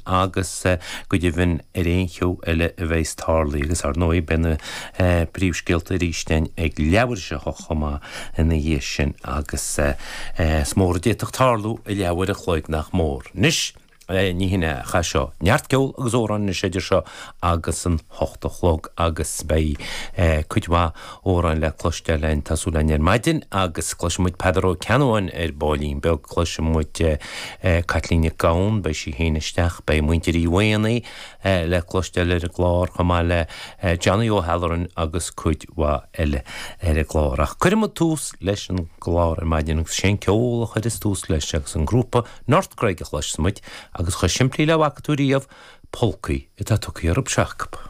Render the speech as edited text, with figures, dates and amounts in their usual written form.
Agus go deimhin ar aon cheo eile a bheas tarlaithe agus ar ndóigh beidh na príomhscéalta arís againn ag leathuair tar éis a hocht chomh maith ina dhiaidh sin agus is mór a d'fhéadfadh tarlú i leathuair a chloig nach mór. Anois, ní hin é ach é seo. Neart ceol agus amhráin anois idir seo agus an hocht a chlog agus beidh cuid mhaith amhráin le cloisteáil againn, tá súil againn ar maidin agus cloisfidh muid Peadar Ó Ceannabháin ar baillín beag, cloisfidh muid Caitlín Nic Gabhann, beidh sí féin isteach, beidh muintir Uí Mhaonaigh le cloisteáil ar an gclár chomh maith le Johnny O'Halloran agus cuid mhaith eile ar an gclár. Ach cuirfidh muid tús leis an gclár ar maidin agus sé an ceol a chuireas tús leis agus an grúpa North Craig a chloisfidh muid agus chomh simplí le bhfaca tú riamh, polcaí atá tugtha orthu seo acu.